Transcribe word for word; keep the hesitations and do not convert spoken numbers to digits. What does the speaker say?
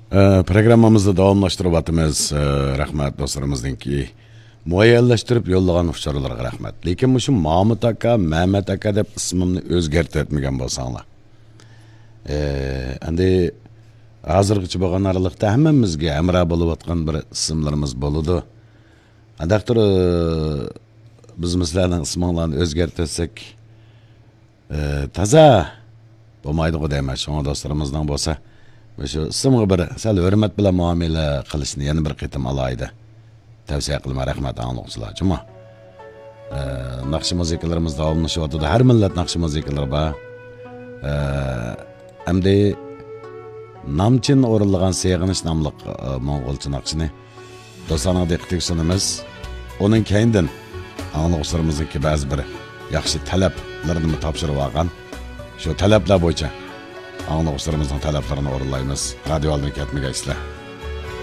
ئە، پروگراممىمىزنى داۋاملاشتۇرۇۋاتىمىز. ئە، رەھمەت دوستلىرىمىزنىڭكى مۇئەييەنلەشتۈرۈپ يوللىغان ئۇچۇرلىرىغا رەھمەت. لېكىن مۇشۇ مامۇت ئاكا، مەمەت ئاكا دەپ ئىسمىمنى ئۆزگەرتىۋەتمىگەن بولساڭلار. ئە، ئەمدى ھازىرغىچە بولغان ئارىلىقتا ھەممىمىزگە ھەمراھ بولۇۋاتقان بىر ئىسىملىرىمىز بولىدۇ. ئانداقتۇر، ئە، بىز سىلەرنىڭ ئىسمىڭلارنى ئۆزگەرتىۋەتسەك، ئى، تازا بولمايدىغۇ دەيمەن. شۇڭا دوستلىرىمىزنىڭ بولسا مۇشۇ ئىسىمغا بىر سەل ھۆرمەت بىلەن مۇئامىلە قىلىشنى يەنە بىر قېتىم ئالاھىدە تەۋسىيە قىلىمەن. رەھمەت ئاڭلىغۇچىلار. جۇمۇ. ئى، ناخشا مۇزىكىلىرىمىز داۋاملىشىۋاتىدۇ. ھەر مىللەت ناخشا مۇزىكىلىرى بار. ئى، ئەمدى نامچىن ئورۇنلىغان سېغىنىش ناملىق، ئى، موڭغۇلچە ناخشىنى دوستلارنىڭ دىققىتىگە سۇنىمىز. ئۇنىڭ كەينىدىن ئاڭلىغۇچىلىرىمىزنىڭكى بەزى بىر ياخشى تەلەپلىرىنىمۇ تاپشۇرۇپ ئالغان. شۇ تەلەپلەر بويىچە ئاڭلىغۇچىلىرىمىزنىڭ تەلەپلىرىنى ئورۇنلايمىز. رادىيو ئالدىدىن كەتمىگەيسىلەر.